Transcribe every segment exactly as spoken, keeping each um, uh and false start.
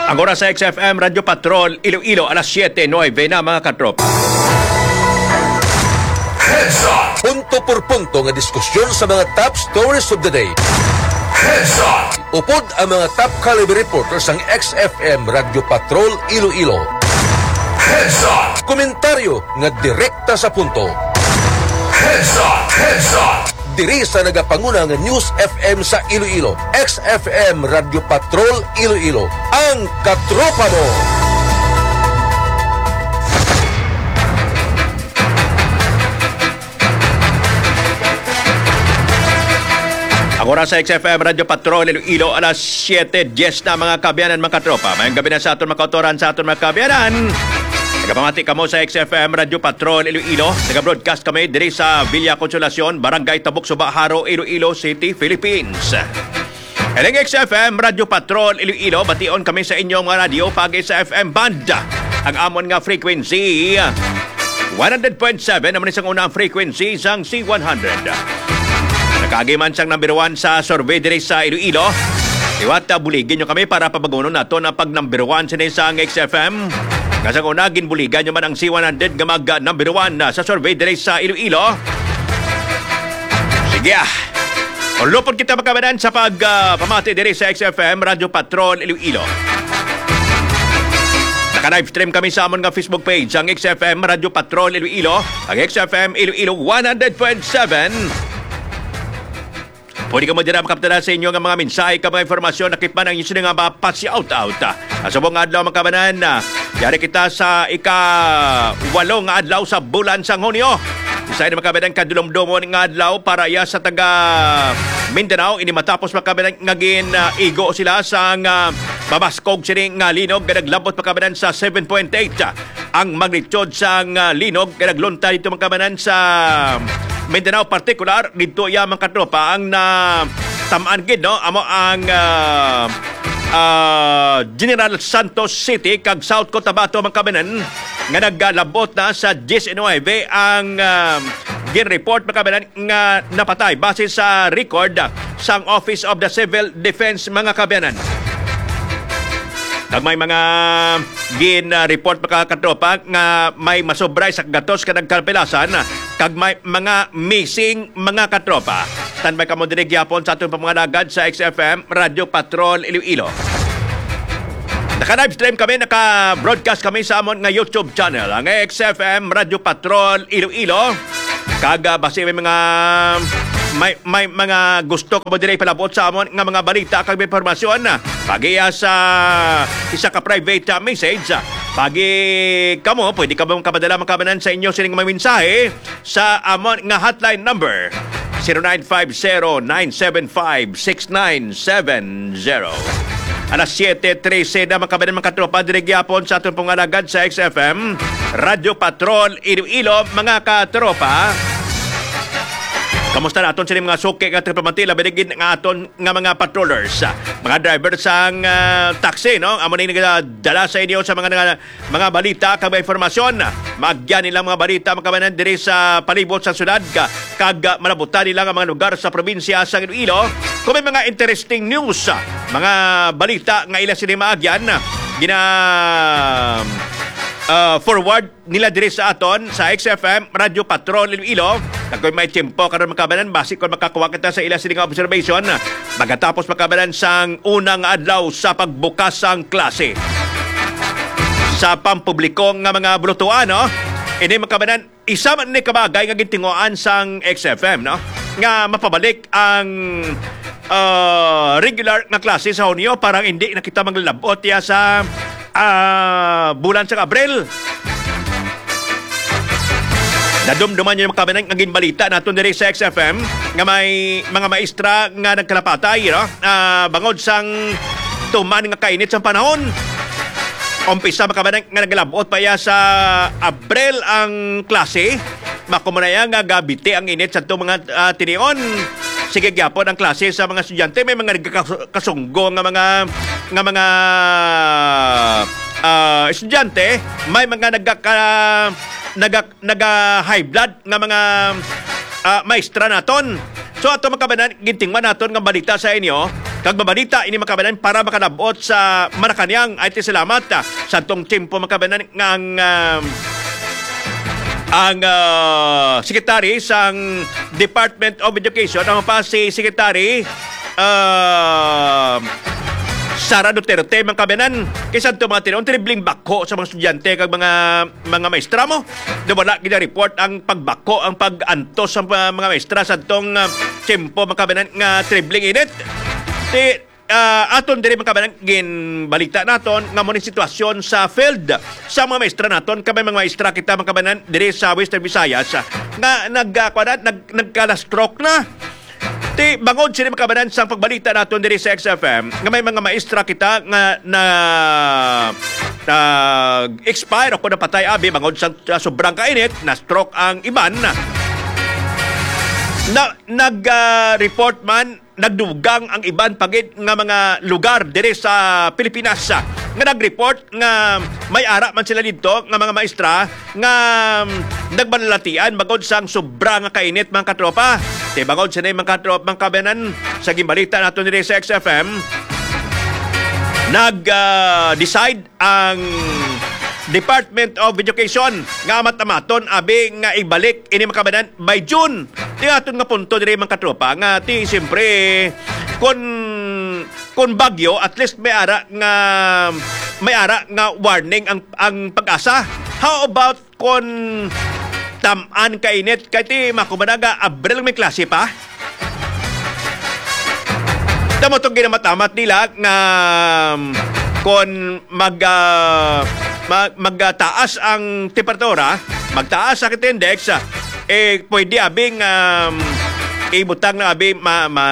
Ang oras sa X F M Radyo Patrol, Iloilo, alas siyete nuwebe na, mga katropa. Heads up! Punto por punto nga diskusyon sa mga top stories of the day. Heads up! Upod ang mga top caliber reporters sang X F M Radyo Patrol Iloilo. Heads up! Komentaryo nga direkta sa punto. Heads up! Heads up! Diri sa nagapanguna nga News F M sa Iloilo, X F M Radyo Patrol Iloilo, ang katropa mo. Ang oras sa X F M Radyo Patrol Iloilo, alas siyete diez na, mga kaabyanan, mga katropa. Mayong gabi na sa aton mga kautoran, sa aton mga kaabyanan. Nagapamati kamo sa X F M Radyo Patrol Iloilo. Nag-broadcast kami diri sa Villa Consolacion, Barangay Tabuk Suba, Jaro, Iloilo City, Philippines. Ining X F M Radyo Patrol Iloilo, bation kami sa inyong mga radyo paagi sa F M band. Ang amon nga frequency, one hundred point seven naman isang unang frequency sang C one hundred. Nakaagi man sang number one sa survey diri sa Iloilo. Liwat, ah, buligi nyo kami para pabagunon naton ang pag-number one sini sang X F M. Nga sang una, ginbuligan nyo man ang C one hundred nga mag-number one na sa survey diri sa Iloilo. Sige, ah. Ulopon kita, mga kaabyanan, sa pag, ah, pamati diri sa X F M Radyo Patrol Iloilo. Naka-live stream kami sa amon nga Facebook page, ang X F M Radyo Patrol Iloilo, ang X F M Iloilo one hundred point seven. Pwede kamo dira makapatala sa inyo nga mga mensahe kag mga impormasyon, lakip man ang inyo sini nga mapa-shout out. Sa subong nga adlaw, mga kaabyanan, ah, yari kita sa ika-walo nga adlaw sa bulan sang Hunyo. Isa ini, mga kaabyanan, kadulomdomon nga adlaw para iya sa taga Mindanao. Ini matapos, mga kaabyanan, nga gin, ah, igo sila sang, ah, mabaskog sini nga linog nga naglabot, mga kaabyanan, sa seven point eight ang magnitude sang, ah, linog nga nagluntad didto, mga kaabyanan, sa Mindanao, partikular didto iya, mga katropa, ang natam-an gid, no? Amo ang, ah, ah, General Santos City kag South Cotabato, mga kaabyanan, nga naglabot na sa diyes nuwebe ang, ah, gin-report, mga kaabyanan, nga napatay base sa record sang Office of the Civil Defense, mga kaabyanan. Kag may mga gin, ah, report, mga katropa, nga may masobra sa gatos ka nagkapilasan, kag may mga missing, mga katropa. Standby kamo diri gyapon sa aton pamangalagan sa X F M Radyo Patrol Iloilo. Naka-live stream kami, naka-broadcast kami sa amon nga YouTube channel, ang X F M Radyo Patrol Iloilo. Kag, ah, basi may mga, may, may mga gusto kamo diri ipalabot sa amon nga mga balita kag impormasyon, ah, paagi sa isa ka private, ah, message, ah, paagi kamo, pwede kamo makapadala, mga kaabyanan, sa inyo sining mga mensahe sa amon nga hotline number, zero nine five zero, nine seven five, six nine seven zero. Alas siyete trese na, mga kaabyanan, mga katropa, diri gyapon sa aton pong alagad sa X F M Radyo Patrol Iloilo, mga katropa. Kamusta naton sini mga suki nga tigpamati, labi na gid nga aton nga mga patrollers, ah, mga driver sang, ah, taxi, no? Amo ni nagadala sa inyo sa mga, mga, mga balita kag mga impormasyon. Maagyan nilang mga balita, mga kaabyanan, diri sa palibot sa syudad, ka-, kag, ah, malabutan nila nga mga lugar sa probinsya sa Iloilo. Kung may mga interesting news, ah, mga balita nga ila sini maagyan, ah, gina, ah, forward nila diri sa aton sa X F M Radyo Patrol Iloilo. Kag kon may tiyempo karon, mga kaabyanan, basi kon makakuha kita sa ila sini nga observation, pagkatapos, mga kaabyanan, sang unang adlaw sa pagbukas sang klase sa pampubliko nga mga bulutuan, no? Ini, mga kaabyanan, isa man ni kabagay nga gintinguhaan sang X F M, no, nga mapabalik ang, ah, regular nga klase sa Hunyo, para hindi na kita maglabot ya sa, ah, bulan sa Abril. Nadumduman niyo, mga kaabyanan, nga ginbalita naton diri sa X F M nga may mga maestra nga nagkalapatay, no? Ah, bangod sang tuman nga kainit sa panahon. Umpisa, mga kaabyanan, nga naglabot pa ya sa Abril ang klase. Makumunaya nga gabiti ang init sa itong mga, ah, tinion. Sige gyapon ang klase sa mga estudyante. May mga nagkakasunggo nga mga, nga mga, ah, estudyante. May mga nagkaka-, naga-, naga-high blood nga mga, ah, maestra naton. So, ato, mga kaabyanan, gintingwa naton nga balita sa inyo. pagbabalita ini, mga kababayan, para makalabot sa Malacañang. Ay, ti salamat, ah, sa tong tiyempo, mga kababayan, nga ang, ah, ang, ah, secretary sang Department of Education, ang pa si Secretary, ah, Sara Duterte, mga kababayan, kay sa tong mga tinuon, tribling bakho sa mga estudyante kag mga, mga maestra mo. Do wala gina-report ang pagbakho, ang pag-antos sa mga, mga maestra sa tong, ah, tiyempo, mga kababayan, nga tribling init. Ti, ah, aton diri, mga kababayan, ginbalita naton nga mo ni sitwasyon sa field sa mga maestra naton. Kami mga maestra kita, mga kababayan, diri sa Western Visayas, ah, nga nag, ah, kuwan na, nag, nagka-stroke na. Ti, bangod sini, mga kababayan, sang pagbalita naton diri sa X F M, nga may mga maestra kita nga na, nag-expire o kung napatay, abi, bangod sa, sa sobrang kainit, na-stroke ang iban. Na, nag, ah, report man, nagdugang ang iban pa gid nga mga lugar diri sa Pilipinas, ah, nga nag-report nga may ara man sila didto nga mga maestra nga, um, nagbalalatian bangod sang sobra nga kainit, mga katropa. Kay bangod sini, mga katropa, mga kababayan, sa ginbalita naton diri sa X F M, nag, ah, decide ang Department of Education nga amat-amaton, abi, nga ibalik ini, mga kababayan, by June. Ti aton nga punto diri, mga katropa, nga ti siyempre, kun, kun bagyo, at least may ara nga, may ara nga warning ang, ang PAGASA. How about kon tam-an kainit, kay ti makumanaga Abril may klase pa. Tamo tong ginamatamat nila nga, um, kon mag, ah, mag, magtaas ang temperatura, magtaas ang index, ah, eh, pwede abing, um, ibutang na abi ma, ma,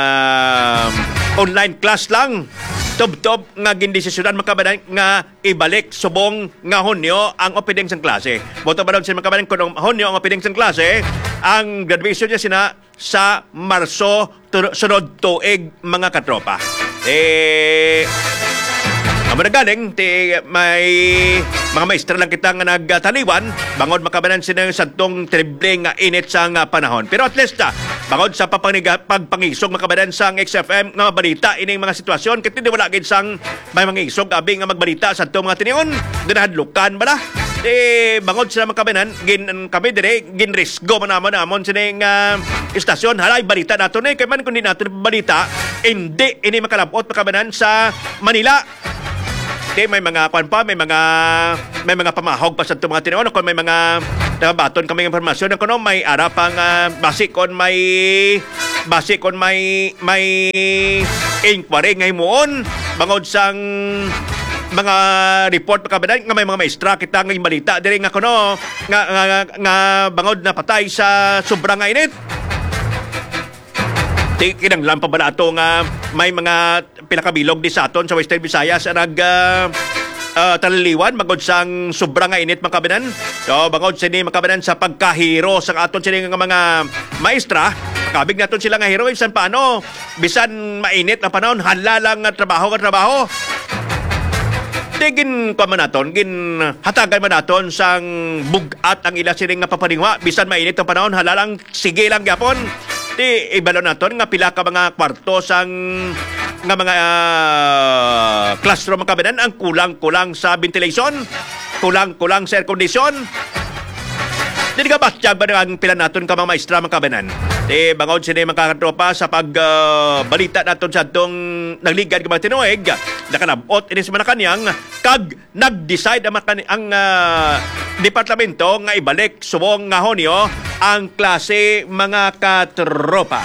online class lang. Tubtob nga gindesisyonan, mga kababayan, nga ibalik subong nga Hunyo ang opening sang klase. Buto ba daw siya, mga kababayan, kung Hunyo ang opening sang klase, ang graduation niya sina sa Marso tu-, sunod tuig, mga katropa. Eh, amo na galing, ti, may mga maestra lang kita nga nagtaliwan, bangod, mga kababayan, sina sa tong triple nga init sa nga panahon. Pero at least, ah, bangod sa papaniga-, pagpangisog, mga kababayan, sang X F M nga mabalita ining mga sitwasyon, kay ti wala gid sang may mga isog abi nga magbalita sa atong mga tinion. Ginahadlukan bala. Eh, bangod sila, mga kababayan, gin, kami dire, ginrisgo man namon, namon sini nga istasyon. Halay, balita nato ni, kay man kung di nato balita, hindi ini makalabot, mga kababayan, sa Manila. Kay may mga kwan pa, may mga, may mga pamahog pa sa itong mga tinion. Kung may mga nabaton kami impormasyon, kuno may ara pang, ah, basi kon may, basi kon may, may inquiry nga himuon bangod sang mga report, mga kababayan, nga may mga maestra kita nga balita diri nga kuno nga, nga, nga, nga bangod napatay sa sobra nga init. Ti kinahanglan pa bala ato nga may mga pila ka bilog di sa aton sa Western Visayas ang nag, ah, ah, taliliwan bangod sang sobra nga init, mga kababayan. So, bangod sini, mga kababayan, sa pagkahero sa aton sini nga mga maestra, makabig naton sila nga hero, bisan paano, bisan mainit ang panahon, hala lang nga trabaho nga trabaho. Di gin, kuwan man naton, ginhatagan man naton sang bug-at ang ila sini nga papaningwa, bisan mainit ang panahon, hala lang, sige lang gyapon. Ti, ibalo naton nga pila ka mga kwarto sang, nga mga, ah, classroom, mga kababayan, ang kulang-kulang sa ventilation, kulang-kulang sa air condition. Di ka batyag ba ang pila naton ka mga maestra, mga kababayan? Ti, bangod sini, mga katropa, sa pag, ah, balita naton sa atong nagligad nga mga tinuig, nakalabot ini sa Malacañang, kag nag-decide ang, makani-, ang, ah, departamento nga ibalik subong nga Hunyo ang klase, mga katropa.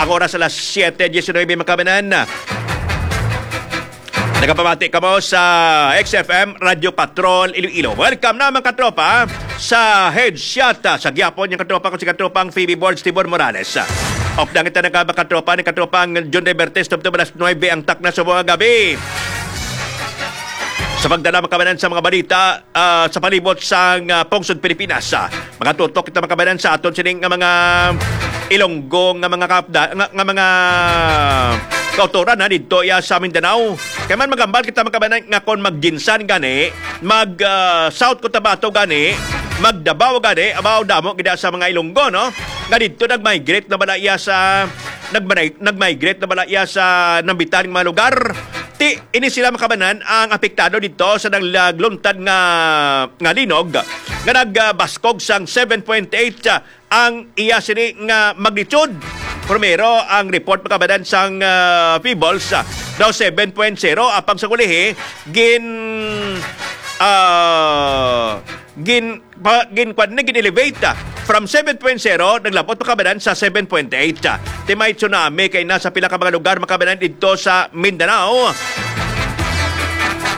Ang oras alas siete diecinuebe, mga kababayan. Nagapamati kamo sa X F M Radio Patrol Iloilo. Welcome na, mga katropa, sa headshot, ah, sa gyapon yung katropa ko, si katropang Phoebe Borges Tibor Morales. Update kita na ka, mga katropa, ni katropang John De Bertes, tubtob alas nuebe ang takna sa mga gabi. Sa pagdala, mga kababayan, sa mga balita, ah, sa palibot sa, ah, pungsod Pilipinas, ah, mga tutok kita, mga kababayan, sa aton sining nga mga Ilonggo nga mga kapda-, nga, nga mga kautoran, ha, didto iya sa Mindanao. Kay man magambal kita, mga kababayan, nga kon magginsan gani, mag, ah, South Cotabato gani, mag Davao gani, abaw damo gid sa mga Ilonggo, no? Nga didto nag-migrate na bala iya sa nagmanay-, nag-migrate na bala iya sa nambitan nga mga lugar. Ti, ini sila, mga kabanan, ang apektado dito sa nagluntad nga, nga linog nga nagbaskog sang seven point eight, ah, ang iya sini nga magnitude. Primero, ang report, mga kabanan, sang, ah, Peebles, ah, daw seven point zero, apang sa ulihi, gin, ah, gin pa, gin, kwan ni, gin-elevate, ah, from seven point zero, naglabot, mga kabanan, sa seven point eight, ah. Ti may tsunami kay na sa pila ka mga lugar, mga kabanan, didto sa Mindanao.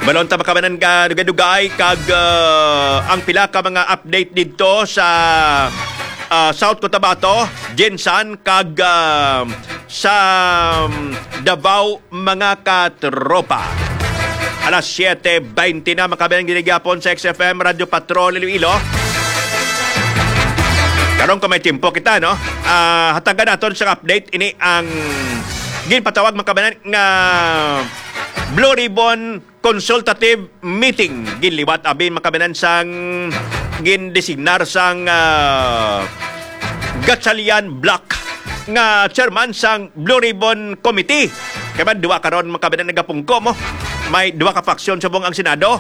Balon ta, mga kabanan, ka dugay-dugay kag, ah, ang pila ka mga update didto sa, ah, South Cotabato, Gensan, kag, ah, sa, um, Davao, mga katropa. Alas siete bente na, mga kabanan, gid gihapon sa X F M Radyo Patrol Iloilo. Karon, kung may tiyempo kita, no? Ah, hatagan naton sa update ini ang ginpatawag, mga kabanan, nga Blue Ribbon Consultative Meeting. Ginliwat abi, mga kabanan, sang gindesignar sang, ah, Gatchalian Block nga chairman sang Blue Ribbon Committee. Kay man, duha karon, mga kabanan, nagapungko mo. May duha ka faksyon subong ang Senado.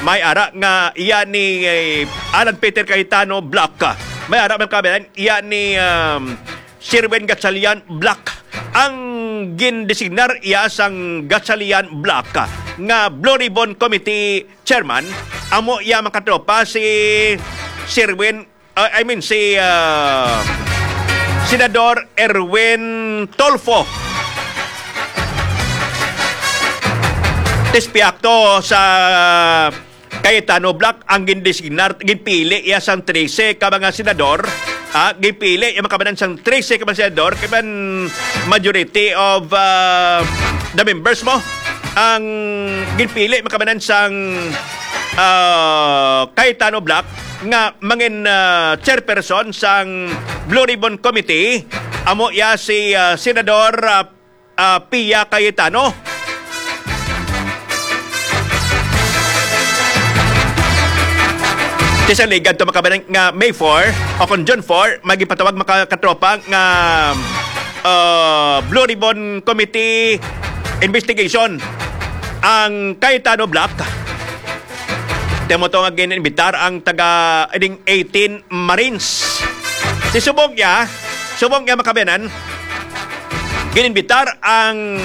May ara nga iya ni, eh, Alan Peter Cayetano Block. May ara, mga kabanan, iya ni, um, Sherwin Gatchalian Block. Ang gindesignar iya sang Gatchalian Block nga Blue Ribbon Committee Chairman, amo iya, mga katropa, si Sherwin, uh, I mean, si, uh, Senador Erwin Tulfo. Tispiak to sa Cayetano Block ang gindesignar, ginpili iya sang trese ka mga senador. Ah, ginpili iya, mga kabanan, sang trese ka mga senador, kay man majority of, ah, the members mo ang ginpili, mga kabanan, sang, ah, Cayetano Block nga mangin, ah, chairperson sang Blue Ribbon Committee. Amo iya si, ah, Senador, ah, ah, Pia Cayetano. Ti sa ligad to, mga kabanan, nga May four o kon June four, magipatawag, mga katropa, nga, ah, Blue Ribbon Committee investigation ang Cayetano Block. Ti amo to nga gin-invitar ang taga, ining eighteen Marines. Ti subong niya, subong niya, mga kabanan, gin-invitar ang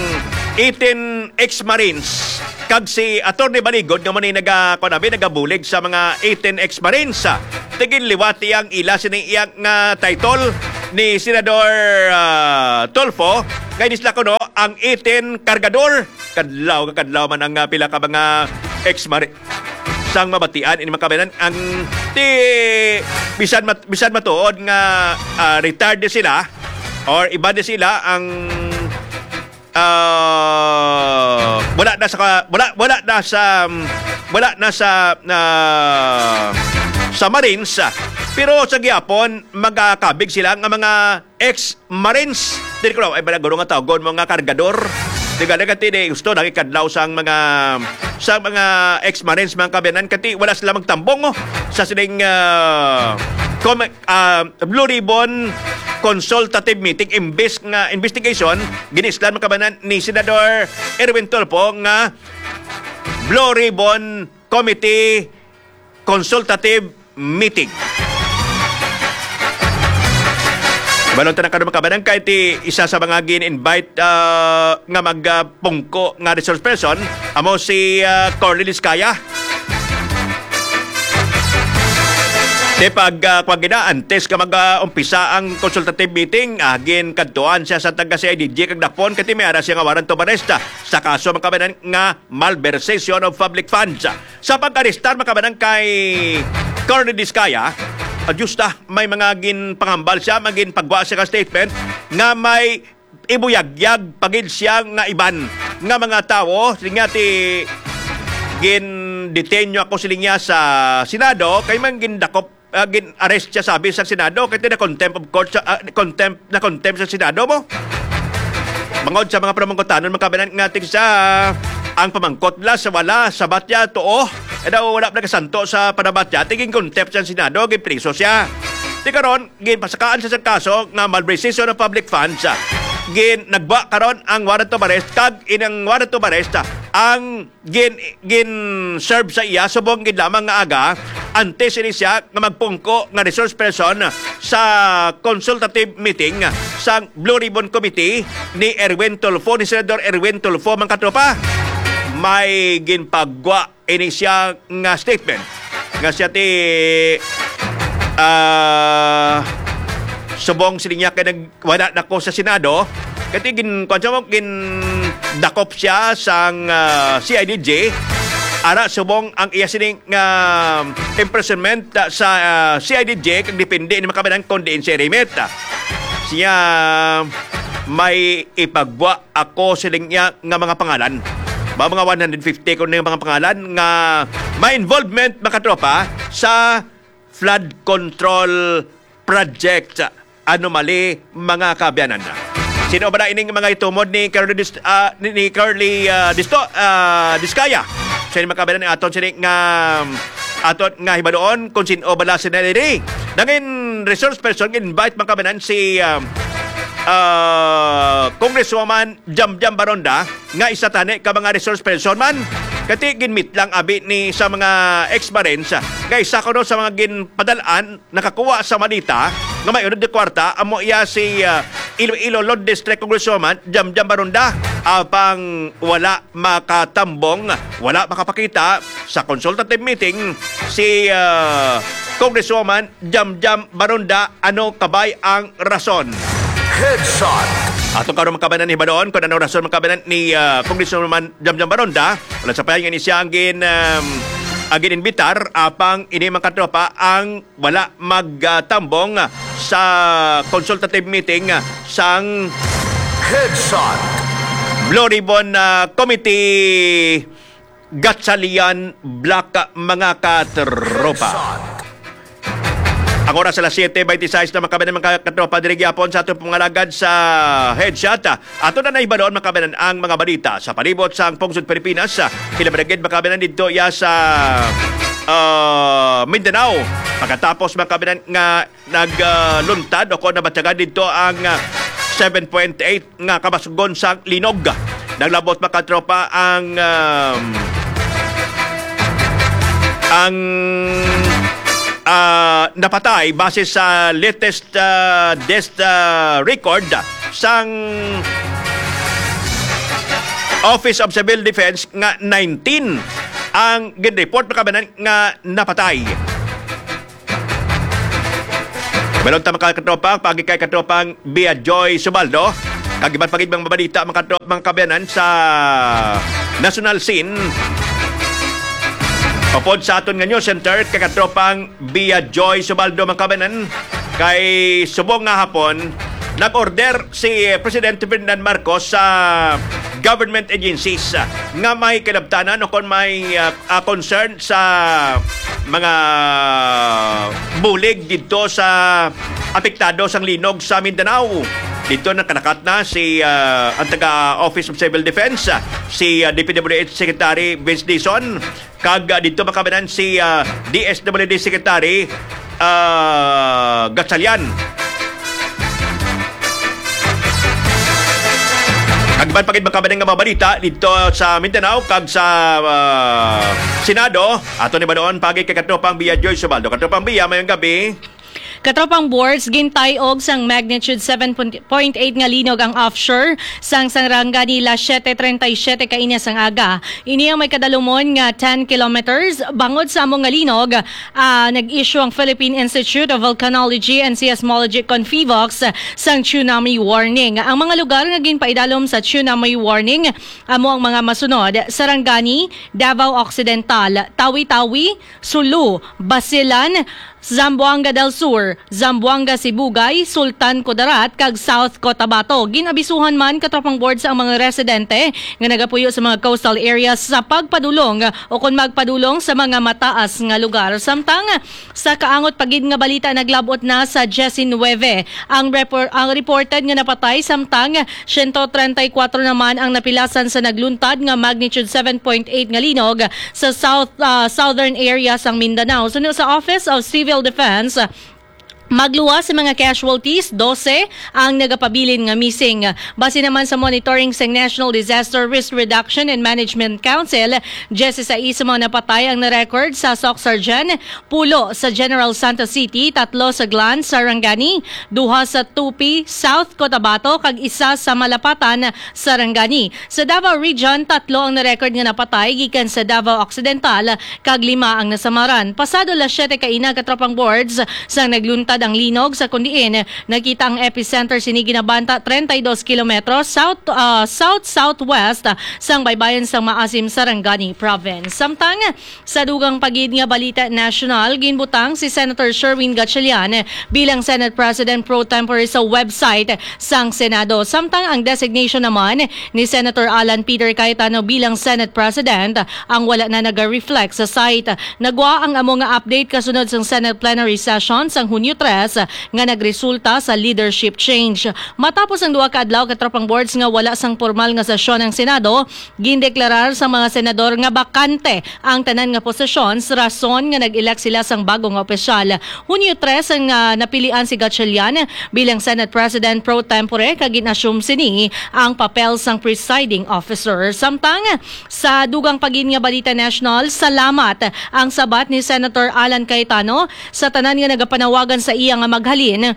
eighteen ex-Marines kag si Attorney Baligod nga amo ni naga-, kuwan abi, nagabulig sa mga eighteen ex-Marines. Ti ginliwat iya ang ila sini iya nga title ni Senador, ah, Tulfo, kay ni sila kuno ang eighteen kargador. Kadlaw nga kadlaw man ang, ah, pila ka mga ex-Marine sang mabatian ini, mga kabanan, ang ti bisan mat-, bisan matuod nga, ah, retired na sila or iba na sila ang, ah, wala na sa ka-, wala, wala na sa, wala na sa, ah, sa Marines, ah, pero sa gihapon magakabig sila nga mga ex-Marines. Dili ko lang, ay, bala, guro nga tawgon mo nga kargador. Di ka, di ka, di gusto, nakikadlaw sang mga, sa mga ex-Marines, mga kabanan, kati wala sila magtambong, oh, sa sining, ah, com-, ah, Blue Ribbon Consultative Meeting, imbes nga investigation, ginislan, mga kabanan, ni Senador Erwin Tulfo nga Blue Ribbon Committee Consultative Meeting. Balon ta na karon, mga kabanan, kay ti isa sa mga gin-invite, ah, nga mag, ah, pungko nga resource person, amo si, ah, Corly Discaya. Ti pag, ah, pag gina, antes ka mag, ah, umpisa ang consultative meeting, ah, ginkadtuan siya sa taga C I D G kag Dapon, kay ti may ara siya nga warrant of arrest, ah, sa kaso, mga kabanan, nga malversation of public funds. Sa pag-arestar, mga kabanan, kay Corny Discaya, ah, Diyos ta, may mga ginpangambal siya, may ginpagwa siya ka statement nga may ibuyagyag pa gid siya nga iban nga mga tawo. Siling niya, ti gin-detain niyo ako, siling niya, sa Senado, kay man gindakop, ah, gin-arrest siya, sabi, sa Senado, kay ti na contempt of court sa, ah, contempt, na contempt sa Senado mo. Bangod sa mga pamangkutanon, mga kabanan, nga tig sa ang pamangkot nila sa wala, sa batya, tuo, eh, daw wala nagasanto sa panabatya, tiging contempt sa Senado, ginpriso siya. Ti karon, ginpasakaan sa isang kaso nga malversation of public funds, ah, gin nagwa karon ang warrant of arrest, kag inang warrant of arrest, ah, ang gin gin-serve sa iya subong gid lamang nga aga antes ini siya nga magpungko nga resource person sa consultative meeting sa Blue Ribbon Committee ni Erwin Tulfo, ni Senador Erwin Tulfo, mga katropa. May ginpagwa ini siya nga statement nga siya ti, ah, subong sini niya kay nag wala na ko sa Senado. Kati gin kuwan siya mo, gin dakop siya sang, ah, C I D G. Ara subong ang iya sining, ah, imprisonment, ah, sa, ah, C I D G, kag depende ni makabanan kung diin siya rimit. Siya may ipagwa ako siling niya nga mga pangalan. Ba, mga one hundred fifty ko na yung mga pangalan nga may involvement, mga katropa, sa flood control project anomaly, mga kaabyanan. Sino ba na ining mga itumod ni Curly Dis-, ah, ni, ni Curly, ah, Disto, ah, Discaya? Sino, mga kaabyanan, aton sini nga, aton nga hibaluon kung sino bala sila diri? Nangin resource person, invite, mga kaabyanan, si, ah, ah, Congresswoman Jamjam Baronda, nga isa tani ka mga resource person man. Kati ginmit lang abi ni sa mga ex-Marines nga isa kuno sa mga ginpadalaan nakakuha sa malita nga may unod ni kwarta, amo iya si, ah, Iloilo Lord District Congresswoman Jamjam Barunda. Apang wala makatambong, wala makapakita sa consultative meeting si, ah, Congresswoman Jamjam Barunda. Ano kabay ang rason? Headshot. Atong karon makabanan ni Badoon kung ano rason makabanan ni, ah, Congresswoman Jamjam Barunda. Wala sa payan nga ni siya ang gin, um, ang gin-invitar, apang ini, mga katropa, ang wala magtambong sa consultative meeting sang Headshot. Blue Ribbon, ah, Committee, Gatchalian Block, mga katropa. Headshot. Ang oras alas siyete bente sais na, mga kabayan, mga katropa, diri gyapon sa atong pangalagad sa Headshot. Ato na nahibaloon, mga kabayan, ang mga balita sa palibot sang pungsod Pilipinas. Kinabaragid, mga kabayan, dito ya sa, ah, Mindanao. Pagkatapos, mga kabayan, nga nagluntad o kung nabatyagan dito ang, ah, seven point eight nga kabasgon sang linog. Naglabot, mga katropa, ang, um, ang, ah, napatay base sa latest, ah, death, ah, record sang Office of Civil Defense nga nineteen ang gin-report, mga kabayan, nga napatay. Balon ta, mga katropa, pagi kay katropang Bia Joy Subaldo. Kag iban pa gid mga balita, mga katropa, mga kabayanan sa national scene. Upod sa aton nga news center, kay katropang Bia Joy Subaldo, mga kabayanan, kay subong nga hapon, nag-order si Presidente Ferdinand Marcos sa government agencies, ah, nga may kinabtanan o kon may, ah, ah, concern sa mga bulig didto sa apektado sang linog sa Mindanao. Didto nakalakat na si, ah, ang taga Office of Civil Defense, ah, si, ah, D P W H Secretary Vince Dizon, kag, ah, didto makabanan si, ah, D S W D Secretary, ah, Gatchalian. Kag iban pa gid makabanan nga mga balita didto sa Mindanao kag sa, ah, Senado. Ato ni ba doon pagi kay katropang Bia Joy Subaldo. Katropang Bia, mayong gabi. Katropang Boards, gintay-og sang magnitude seven point eight nga linog ang offshore sang Sarangani alas siete treinta y siete kaina sang aga. Ini ang may kadalumon nga ten kilometers. Bangod sa amo nga linog, ah, nag-issue ang Philippine Institute of Volcanology and Seismology kon PHIVOLCS sang tsunami warning. Ang mga lugar nga ginpaidalom sa tsunami warning amo ang mga masunod: Sarangani, Davao Occidental, Tawi-Tawi, Sulu, Basilan, Zamboanga del Sur, Zamboanga Sibugay, Sultan Kudarat, kag South Cotabato. Gin-abisuhan man, katropang Boards, ang mga residente nga nagapuyo sa mga coastal areas sa pagpadulong o kon magpadulong sa mga mataas nga lugar. Samtang sa kaangot pa gid nga balita, naglab-ot na sa diyes y nuebe ang repor-, ang reported nga napatay, samtang siyento treinta y kuwatro naman ang napilasan sa nagluntad nga magnitude seven point eight nga linog sa south, ah, southern area sang Mindanao. Suno sa Office of Civil Defense, Magluwas sa mga casualties, dose ang nagapabilin nga missing. Base naman sa monitoring sa National Disaster Risk Reduction and Management Council, diyesisais ang mga napatay ang na-record sa Soccsksargen, pulo sa General Santos City, tatlo sa Glan, Sarangani, duha sa Tupi, South Cotabato, kag isa sa Malapatan, Sarangani. Sa Davao Region, tatlo ang na-record nga napatay gikan sa Davao Occidental, kag lima ang nasamaran. Pasado las siyete kaina, katropang boards, sang nagluntad ang linog sa kundiin nakita ang epicenter sini ginabanta treinta y dos kilometros south, ah, south-southwest sang baybayon sang Maasim, Sarangani Province. Samtang sa dugang pa gid nga balita nasyonal, ginbutang si Senator Sherwin Gatchalian bilang Senate President pro tempore sa website sang Senado. Samtang ang designation naman ni Senator Alan Peter Cayetano bilang Senate President ang wala na naga-reflect sa site. Nagwa ang amo nga update kasunod sang Senate plenary session sang Hunyo tres nga nagresulta sa leadership change. Matapos ang duha ka adlaw, katropang boards, nga wala sang pormal nga sesyon ang Senado, gindeklarar sa mga senador nga bakante ang tanan nga posisyon sa rason nga nag-elect sila sang bago nga opisyal. Hunyo tres ang, ah, napilian si Gatchalian bilang Senate President pro tempore, kag gin-assume sini ang papel sang presiding officer. Samtang sa dugang pa gid nga balita nasyonal, salamat ang sabat ni Senator Alan Cayetano sa tanan nga nagapanawagan sa iya nga maghalin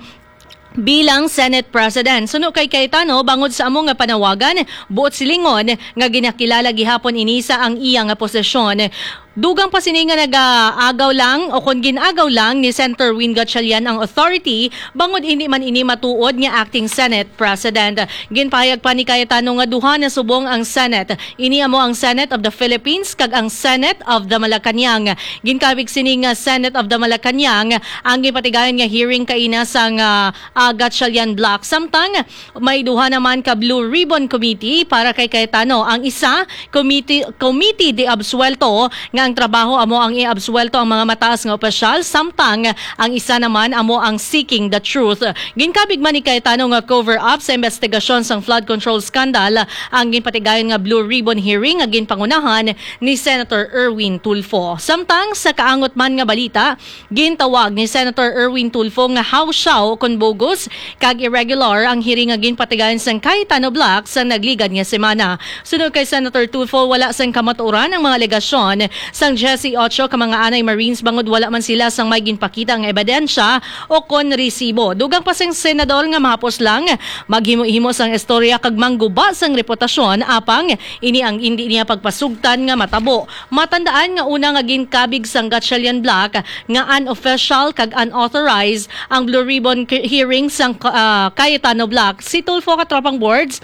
bilang Senate President. Suno kay Cayetano, bangod sa amo nga panawagan, buot silingon nga ginakilala gihapon ini sa ang iya nga posisyon. Dugang pa sini nga nag-aagaw lang o kon gin-agaw lang ni Senator Win Gatchalian ang authority, bangod indi man ini matuod nga acting Senate President. Ginpahayag pa ni Cayetano nga duha na subong ang Senate. Ini amo ang Senate of the Philippines kag ang Senate of the Malacañang. Ginkabig sini nga Senate of the Malacañang ang ginpatigayon nga hearing kaina sang, ah, ah, Gatchalian Block. Samtang may duha naman ka Blue Ribbon Committee para kay Cayetano. Ang isa, Committee, Committee de Absuelto, nga ang trabaho amo ang iabsuelto ang mga mataas nga opisyal, samtang ang isa naman amo ang Seeking the Truth. Ginkabig man ni Cayetano nga cover-up sa investigasyon sang flood control scandal ang ginpatigayon nga Blue Ribbon hearing nga ginpangunahan ni Senator Erwin Tulfo. Samtang sa kaangot man nga balita, gintawag ni Senator Erwin Tulfo nga hawsyaw kon bogus kag irregular ang hearing nga ginpatigayon sang Cayetano Block sa nagligad nga semana. Suno kay Senator Tulfo, wala sang kamatuoran ang mga alegasyon sang diyesyocho ka mga anay Marines, bangod wala man sila sang may ginpakita nga ebidensya o kon resibo. Dugang pa sang senador nga mahapos lang maghimo-himo sang istorya kag mangguba sang reputasyon, apang ini ang indi niya pagpasugtan nga matabo. Matandaan nga una nga ginkabig sang Gatchalian Block nga unofficial kag unauthorized ang Blue Ribbon ki-, hearing sang, ah, Cayetano Block. Si Tulfo, katropang boards,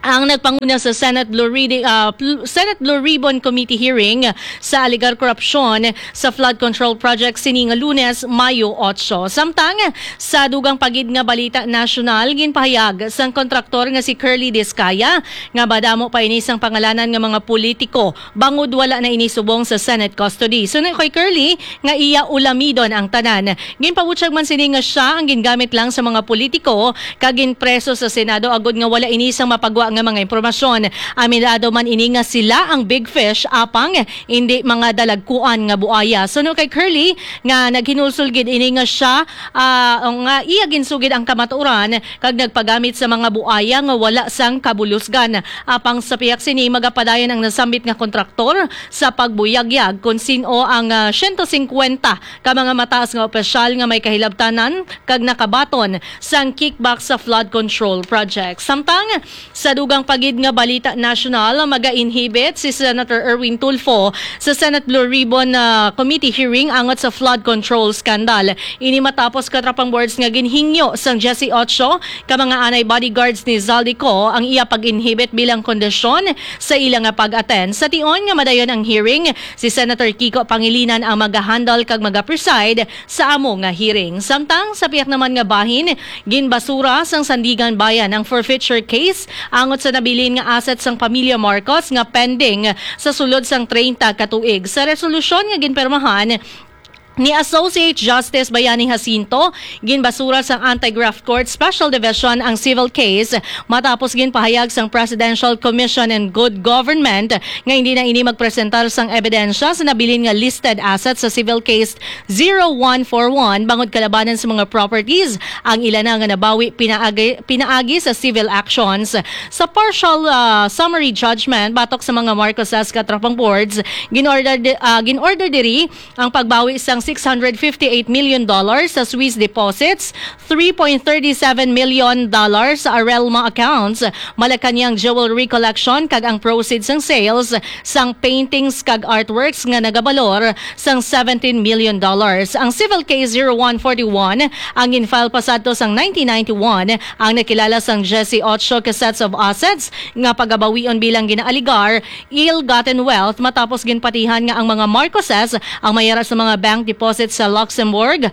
ang nagpanguna sa Senate Blue Reading, ah, pl-, Senate Blue Ribbon Committee hearing sa alegar korupsyon sa flood control project sini nga Lunes, Mayo otso. Samtang sa dugang pa gid nga balita nasyonal, ginpahayag sang kontraktor nga si Curly Discaya nga madamo pa ini sang pangalanan nga mga politiko bangod wala na ini subong sa Senate custody. Suno kay Curly nga iya ulamidon ang tanan. Ginpabutyag man sini nga sia ang gingamit lang sa mga politiko kag ginpreso sa Senado agod nga wala ini sang mapagwa nga mga impormasyon. Aminado man ini nga sila ang big fish apang indi mga dalagkuan nga buaya. Suno kay Curly nga naghinulsol gid ini nga sia, ah, nga iya ginsugid ang kamatuoran kag nagpagamit sa mga buaya nga wala sang kabulusgan. Apang sa pihak sini, magapadayon ang nasambit nga kontraktor sa pagbuyagyag kon sin-o ang, ah, siyento singkwenta ka mga mataas nga opisyal nga may kahilabtanan kag nakabaton sang kickback sa flood control project. Samtang sa dugang pa gid nga balita nasyonal, maga-inhibit si Senator Erwin Tulfo sa Senate Blue Ribbon, ah, Committee hearing angot sa flood control scandal. Ini matapos, katropang boards, nga ginhingyo sang diyesyocho ka mga anay bodyguards ni Zaldy Co ang iya pag-inhibit bilang kondisyon sa ila nga pag-attend. Sa tion nga madayon ang hearing, si Senator Kiko Pangilinan ang maga-handle kag maga-preside sa amo nga hearing. Samtang sa pihak naman nga bahin, ginbasura sang Sandiganbayan ang forfeiture case angot sa nabilin nga asset sang pamilya Marcos nga pending sa sulod sang treinta ka tuig. Sa resolusyon nga ginpirmahan Ni Associate Justice Bayani Jacinto, ginbasura sang Anti-Graft Court Special Division ang civil case matapos ginpahayag sang Presidential Commission on Good Government nga hindi na ini magpresentar sang ebidensya sa nabilin nga listed assets sa civil case zero one four one bangod kalabanan sa mga properties ang ila na nga nabawi pinaagi, pinaagi sa civil actions. Sa partial, ah, summary judgment batok sa mga Marcoses, Katropa Boards, ginorder di-, ah, ginorder diri ang pagbawi sang six hundred fifty-eight million dollars sa Swiss deposits, three point thirty-seven million dollars sa Arelma accounts, Malacañang jewelry collection, kag ang proceeds sang sales sang paintings kag artworks nga nagabalor sang seventeen million dollars. Ang civil case zero one forty-one ang gin-file pasadto sang nineteen ninety-one, ang nakilala sang Jesse Ocho ka sets of assets nga pagabawion bilang ginaaligar ill-gotten wealth matapos ginpatihan nga ang mga Marcoses ang may ara sa mga bank deposits sa Luxembourg,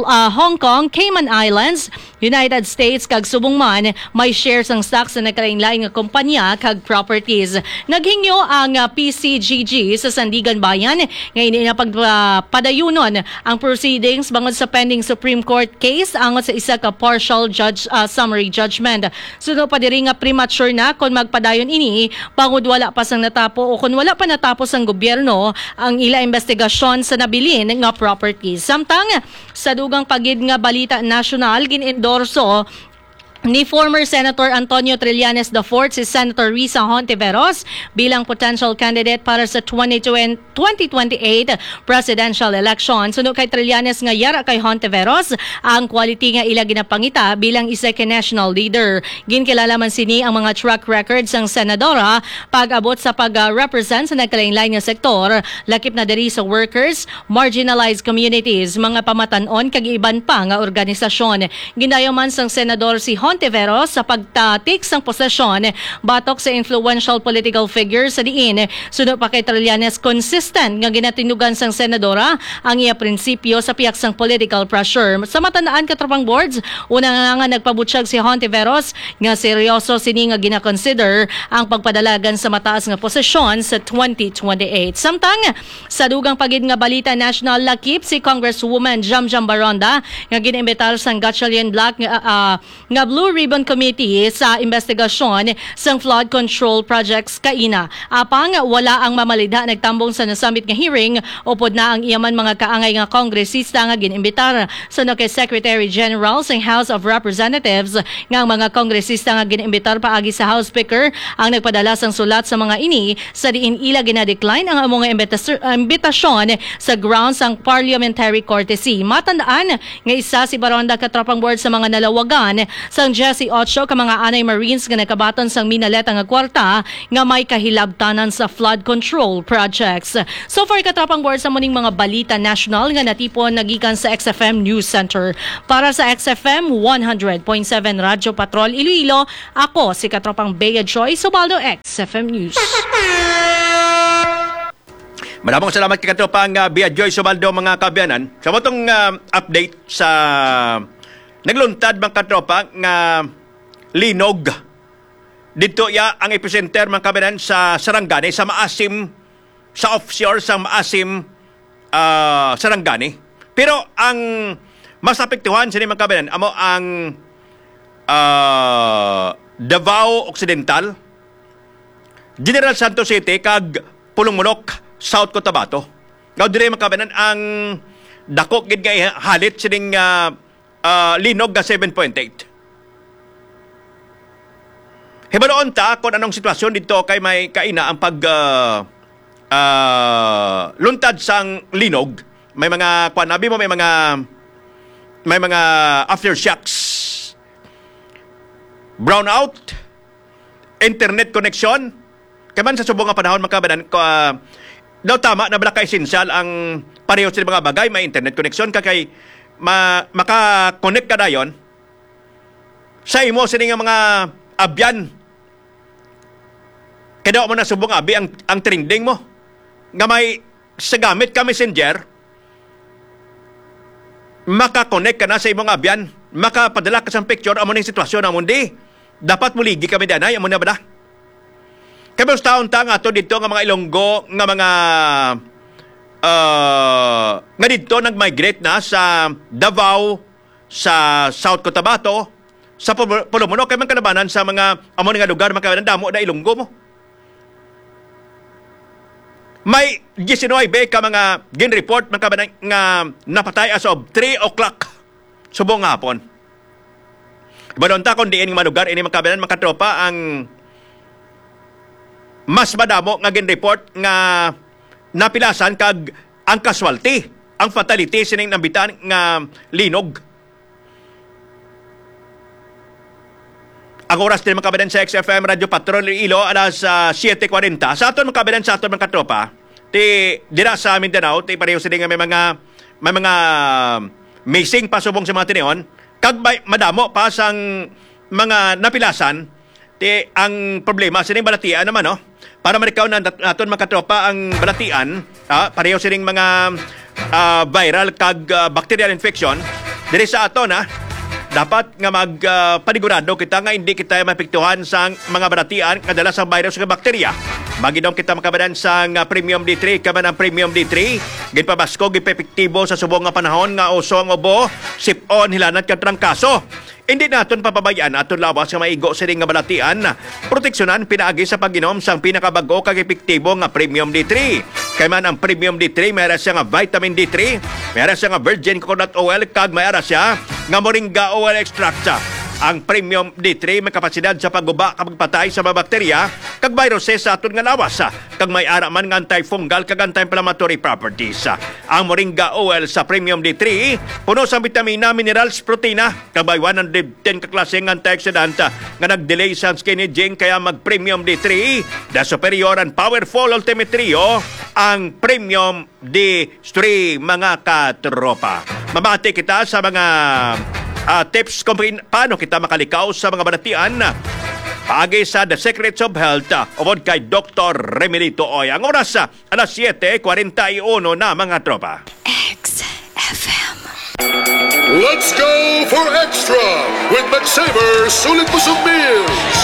ah, Hong Kong, Cayman Islands, United States, kag subong man may shares sang stock sa nagkalainlain nga kompanya kag properties. Naghingyo ang, ah, P C G G sa Sandiganbayan nga hindi na pagpadayunon ang proceedings bangod sa pending Supreme Court case angot sa isa ka partial judge, ah, summary judgment. Suno pa diri nga premature na kon magpadayon ini bangod wala pa sang natapo o kon wala pa natapos sang gobyerno ang ila investigasyon sa nabilin nga property. Samtang sa dugang pa gid nga balita nasyonal, gin-endorso ni former Senator Antonio Trillanes the fourth si Senator Risa Hontiveros bilang potential candidate para sa twenty twenty, twenty twenty-eight presidential election. Suno kay Trillanes nga yara kay Hontiveros ang quality nga ila ginapangita bilang isa ka national leader. Ginkilala man sini ang mga track record sang senadora pag-abot sa pag-represent sa nagkalainlain nga sektor, lakip na diri sa workers, marginalized communities, mga pamatan-on kag iban pa nga organisasyon. Gindayaw man sang senador si Hontiveros sa pagtatik sang posisyon batok sa influential political figure sa diin, suno pa kay Trillanes, consistent nga ginatinugan sang senadora ang iya prinsipyo sa pihak sang political pressure. Sa matandaan, Katropang Boards, una nga, nga nagpabutyag si Hontiveros nga seryoso sini nga ginakonsider ang pagpadalagan sa mataas nga posisyon sa twenty twenty-eight. Samtang sa dugang pa gid nga balita national, lakip si Congresswoman Jamjam Baronda nga gin-imbitar sang Gatchalian Bloc nga, ah, nga Blue Ribbon Committee sa investigasyon sang flood control projects kaina. Apang wala ang mamalidha nagtambong sa nasambit nga hearing, upod na ang iya man mga kaangay nga kongresista nga gin-imbitar. Suno kay Secretary General sang House of Representatives nga ang mga kongresista nga gin-imbitar paagi sa House Speaker ang nagpadala sang sulat sa mga ini, sa diin ila ginadecline ang amo nga imbitas-, imbitasyon sa grounds sang parliamentary courtesy. Matandaan nga isa si Baronda, Katropang Boards, sa mga nalawagan sang diyes y ocho ka mga anay Marines nga nagkabaton sang minaleta nga kwarta nga may kahilabtanan sa flood control projects. So far, Katropang Boards, sa muning mga balita national nga natipon nagikan sa X F M News Center. Para sa X F M one hundred point seven Radyo Patrol Iloilo, ako si Katropang Bea Joy Subaldo, X F M News. Maraming salamat kay Katropang, ah, Bea Joy Subaldo, mga kaabyanan. Sa motong, ah, update sa nagluntad, mga katropa, nga linog. Dito ya ang epicenter, mga kaabyanan, sa Sarangani, sa Maasim, sa offshore sa Maasim, ah, Sarangani. Pero ang mas apektuhan sini, mga kaabyanan, amo ang, ah, Davao Occidental, General Santos City, kag Pulong Munok, South Cotabato. Nga diri, mga kaabyanan, ang dako gid nga halit sining, ah, ah, linog nga seven point eight. Hibaluon ta kung anong sitwasyon dito kay may kaina ang pag, ah, ah, luntad sang linog. May mga, kuwan, abi mo, may mga, may mga aftershocks. Brownout, internet connection. Kay man sa subong nga panahon, mga kaabyanan, ko, ah, daw tama na bala ka-essential ang pareho sa mga bagay, may internet connection ka kay ma-, maka-connect ka dayon sa imo sini nga mga abyan. Kay daw mo na subong abi ang, ang trending mo nga may sa gamit ka messenger, maka-connect ka na sa imong abyan, makapadala ka sa picture, amo ning sitwasyon, amo di. Dapat muligi kami danay, amo na ba da? Kay mas taon ta nga ato dito nga mga Ilonggo, nga mga, ah, nga didto nag-migrate na sa Davao, sa South Cotabato, sa Pul-, Pulumuno, kay man kalabanan sa mga amo nga lugar, mga damo na Ilonggo mo. May diecinuebe ka mga gin-report, mga kabanan, nga napatay as of three o'clock subong nga hapon. Ibalon ta kung diin nga mga lugar ini, mga kabanan, mga katropa, ang mas madamo nga gin-report nga napilasan kag ang casualty, ang fatality sining nambitan nga linog. Ang oras din, mga kabanan, sa X F M Radio Patrol Iloilo, alas, ah, siete cuarenta. Sa aton, mga kabanan, sa aton, mga katropa, ti, dira sa Mindanao, ti pareho sila nga may mga, may mga missing pa subong sa mga tinion. Kag may, madamo pa sang mga napilasan, ti ang problema sining balatian naman, no? Para marikaw na nat-, naton, mga katropa, ang balatian, ah, pareho sining mga, ah, viral kag, ah, bacterial infection diri sa aton, ha. Dapat nga mag, ah, panigurado kita nga hindi kita maapektuhan sang mga balatian nga dala sa virus nga bakterya. Mag-inom kita, mga kabanan, sang, ah, Premium D three, kay man ang Premium D three ginpabaskog, ginpaepektibo sa subong nga panahon nga uso ang ubo, sip-on, hilanat kag trangkaso. Hindi naton papabay-an aton lawas nga maigo sini nga balatian. Proteksyonan pinaagi sa pag-inom sang pinakabag-o kag epektibo nga Premium D three. Kay man ang Premium D three, may ara siya nga vitamin D three, may ara siya nga virgin coconut oil, kag may ara siya nga moringa oil extract. Ang Premium D three may kapasidad sa pagguba kag pagpatay sa mga bakterya kag viruses sa aton nga lawas, kag may ara man nga antifungal kag anti-inflammatory properties. Ang moringa oil sa Premium D three puno sa bitamina, minerals, protina, kag may one hundred ten ka klase nga antioxidant, ah, nga nag-delay sa skin aging, kaya mag Premium D three, the superior and powerful Ultimate Trio, ang Premium D three, mga katropa. Mamati kita sa mga, ah, tips kung pin-, paano kita makalikaw sa mga balatian. Paagi sa The Secrets of Health, ah, upod kay Doktor Remelito Oy. Ang oras, ah, alas siete cuarenta y uno na, mga tropa. X F M. Let's go for extra with McSaver Sulit Busog Meals.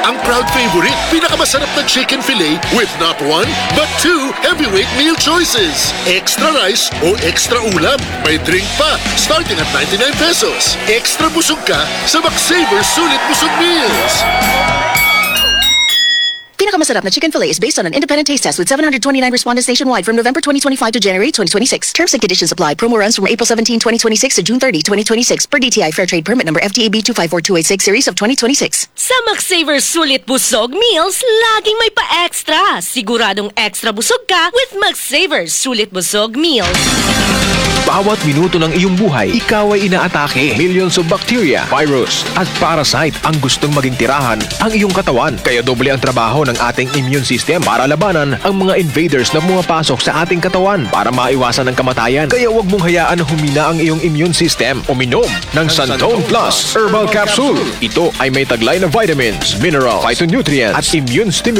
Ang proud favorite, pinakamasarap na chicken fillet with not one, but two heavyweight meal choices. Extra rice o extra ulam. May drink pa, starting at ninety-nine pesos. Extra busog ka sa McSaver Sulit Busog Meals. Pinakamasarap na chicken fillet is based on an independent taste test with seven hundred twenty-nine respondents nationwide from November twenty twenty-five to January twenty twenty-six. Terms and conditions apply. Promo runs from April seventeen, twenty twenty-six to June thirty, twenty twenty-six, per D T I Fair Trade Permit Number F T A B two five four two eight six series of twenty twenty-six. Sa McSaver Sulit Busog Meals, laging may pa-extra. Siguradong extra busog ka with McSaver Sulit Busog Meals. Bawat minuto ng iyong buhay, ikaw ay inaatake. Millions of bacteria, virus, at parasite ang gustong maging tirahan ang iyong katawan. Kaya doble ang trabaho ng ating immune system para labanan ang mga invaders na pumapasok sa ating katawan para maiwasan ang kamatayan. Kaya huwag mong hayaan na humina ang iyong immune system. Uminom ng Santon Plus Herbal Capsule. Ito ay may taglay na vitamins, mineral, phytonutrients, at immune stimulant